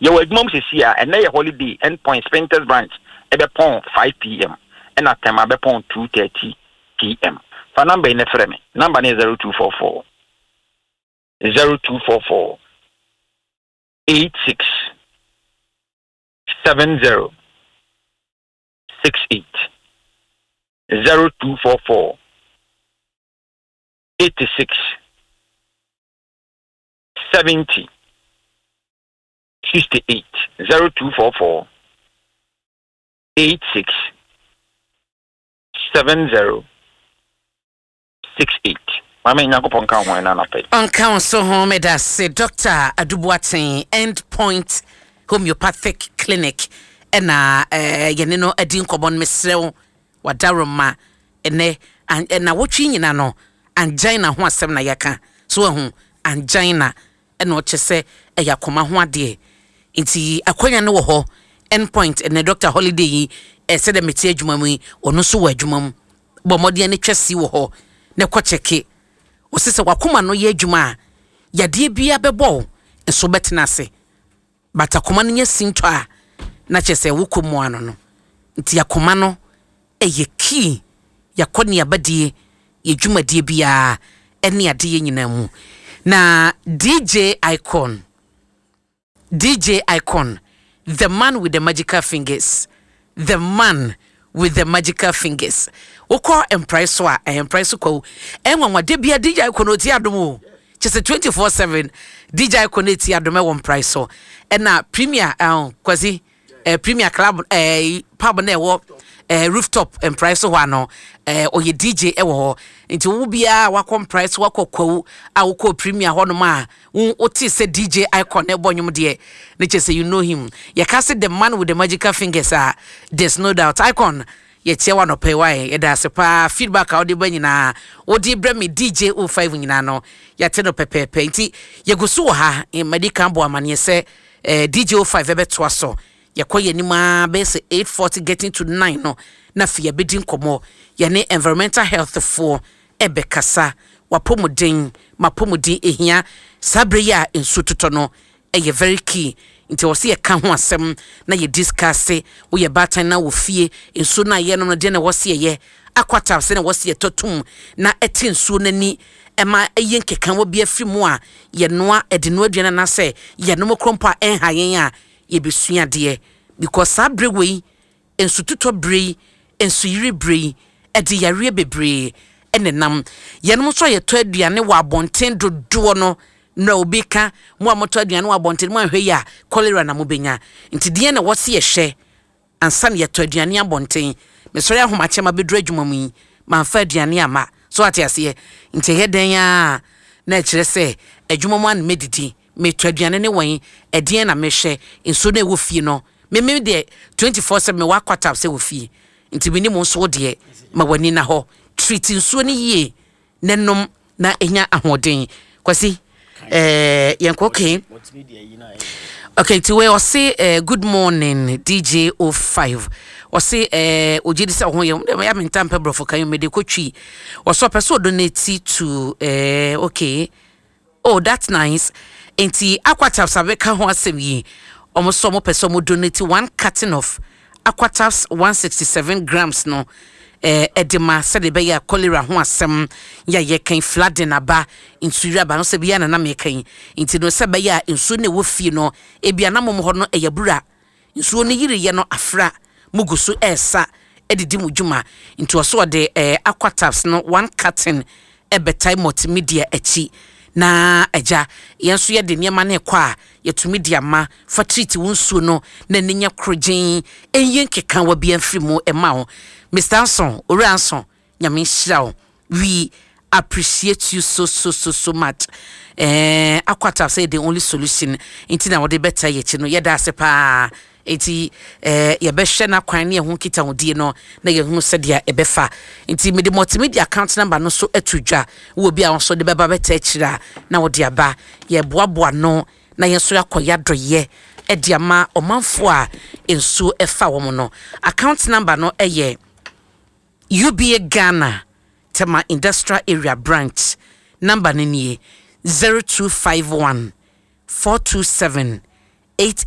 Yɛwɔ adwuma mu sɛsi a ɛnɛ yɛ holiday. End Point Spintex branch ɛbɛpɔn 5 p.m., ɛna Tema bɛpɔn 2:30 p.m. Fa number yi ne frɛ me. Number no yɛ 0244 0244 86 70 68, 0244 86 70 68, 0244 86 70 68. Maame, Nyankopɔn nka ho ɛna anapɛ. Ɔnka wo so ho. Meda se Dr Aduboaten, End Point Homeopathic Clinic, ɛna yɛne no adi nkɔmmɔ no. Mesrɛ wo, wadaroma ɛnɛ ɛna wotwe nyina no, angina ho asɛm na yɛka so. Ahu angina ɛna ɔkyɛ sɛ ɛyɛ akoma ho adeɛ, nti akwanya no wɔ hɔ. End Point ɛnɛ doctor holiday yi, ɛsɛ dɛ mete adwuma mu yi, ɔno nso wɔ adwuma mu. Bɔ mmɔden ne twa si wɔ hɔ na kɔ kyɛke. Ɔsɛ sɛ wakoma no yɛ adwuma a, yadeɛ biara bɛbɔ wo nso bɛtena ase, but akoma no nyɛ sintɔ a, na kyerɛ sɛ wokɔ mu ano no. Nti akoma no ɛyɛ key yɛakɔ ne abadie, yɛ dwumadie biara ɛne adeɛ nyinaa mu. Na DJ Icon, DJ Icon, the man with the magical fingers, the man with the magical fingers, wokɔ Mprae so a, ɛyɛ Mprae so kwawu ɛnwanwa bia DJ Icon ɔti Adom o, kyɛ sɛ 24/7 DJ Icon ɛti Adom ɛwɔ Mprae so. Ɛna Premier Kwasi, Premier Club, pub na ɛwɔ rooftop Mprae so hɔ ano, ɔyɛ DJ ɛwɔ hɔ. Nti wo biara wakɔ Mprae so, wakɔ Kwawu a, wokɔ Premier hɔnom a, wote sɛ DJ Icon ɛbɔ nnwom deɛ, ne kyɛ sɛ you know him. Yɛka sɛ the man with the magical fingers a, there's no doubt. Icon, yɛkyia wa nɔpɛ wae. Yɛda ase paa. Feedback a wode ba nyinaa, wode brɛ me DJ O5 nyinaa no, yɛate no pɛpɛɛpɛ. Nti yɛgu so wɔ ha. Madi kan bɔ amanneɛ sɛ DJ O5 ɛbɛtoa so. Yɛkɔ yɛn anim a, bɛyɛ sɛ 8:40 getting to 9 no, na afei yɛbɛdi nkɔmmɔ yɛne environmental health foɔ ɛbɛkasa. Wapɔmuden, mapɔmuden ehia saa berɛ yi a nsuo totɔ no, ɛyɛ very key. Nti wɔ sɛ yɛka ho asɛm na yɛ discuss. Woyɛ baatan na wɔ fie, nsuo no a yɛnom no deɛ na ɛwɔ sɛ yɛyɛ Aquatabs sɛ na ɛwɔ sɛ yɛtɔ tom na ɛte nsuo no ani, ɛma ɛyɛ nkeka wɔ bi afiri mu a yɛnoa ɛde noa aduane anaasɛ yɛnom koro mpo a ɛnha yɛn a yɛbɛsua adeɛ, because saa berɛ wei, nsutotɔ berɛ yi, nsuyiri berɛ yi, ɛde yareɛ bebree ɛne nam. Yɛnom nso a yɛtɔ aduane wɔ abɔnten dodoɔ no na obi ka mo a motɔ aduane wɔ abɔnten mo ahwɛ yi a, cholera na mobɛnya. Nti deɛ na wɔsi yɛhwɛ ansa na yɛtɔ aduane abɔnten. Mesɔre ahomakyɛ ma bɛduru adwuma mu yi, mamfa aduane ama so, ate aseɛ? Nti ɛyɛ dɛn a na ɛkyerɛ sɛ adwuma mu ana mɛdidi, metɔ aduane ne wɔn ɛdeɛn na mehwɛ nsuo no ɛwɔ fie no. Meme deɛ, 24/7 mewɔ Aquatabs sɛ wɔ fie. Nti menim nso wo deɛ, ma w'ani na hɔ, treat nsuo no yie ne nom na ɛnya ahoɔden. Kwasi, yɛnkɔ. Okay, nti wei ɔse, "Good morning, DJ O5." Ɔse ogye di sɛ ɔho yɛ ya. Menta mpɛ borɔfo kan mede kɔtwi. Ɔsɛ ɔpɛ sɛ ɔdonate to okay, oh, that's nice. Nti Aquatabs abɛka ho asɛm yi, ɔmo sɛ ɔmo pɛ sɛ ɔmo donate one carton of Aquatabs 167 grams no ɛde ma sɛde ɛbɛyɛ a cholera ho asɛm yɛ a yɛkan, flooding aba, nsuyiri aba no sɛ bia na nam yɛkan. Nti no sɛ ɛbɛyɛ a nsuo no ɛwɔ fie no, ebi anam hɔ no ɛyɛ bura, nsuo no yiriyɛ no afra, mu gu so ɛɛsa ɛdidi mu dwuma. Nti ɔso ɔde Aquatabs no one carton ɛbɛtae Multimedia akyi na agya yɛn nso yɛde nneɛma no ɛkɔ a yɛtumi de ama. Fa treat wo nsuo no na ne nya korogyen, ɛnyɛ nkeka wa bi amfiri mu ɛma wo. Mr Anson, Owura Anson, Nyame nhyira wo. We appreciate you so so so so much. Aquatabs sɛ the only solution nti na wɔde bɛta yɛ akyi no, yɛda ase paa. Nti yɛbɛhwɛ n'akwan ne ɛho nkitahodie no na yɛhunu sɛdeɛ ɛbɛfa. Nti mede Multimedia account number no so ato dwa. Wɔ bi a nso de bɛba bɛta akyire a, na wɔde aba. Yɛboaboa no na yɛn nso akɔ yɛadɔyɛ ɛde ama ɔmanfoɔ a nsuo ɛfa wɔn no. Account number no ɛyɛ UBA Ghana, Tema Industrial Area branch. Number no nie: 0251 427.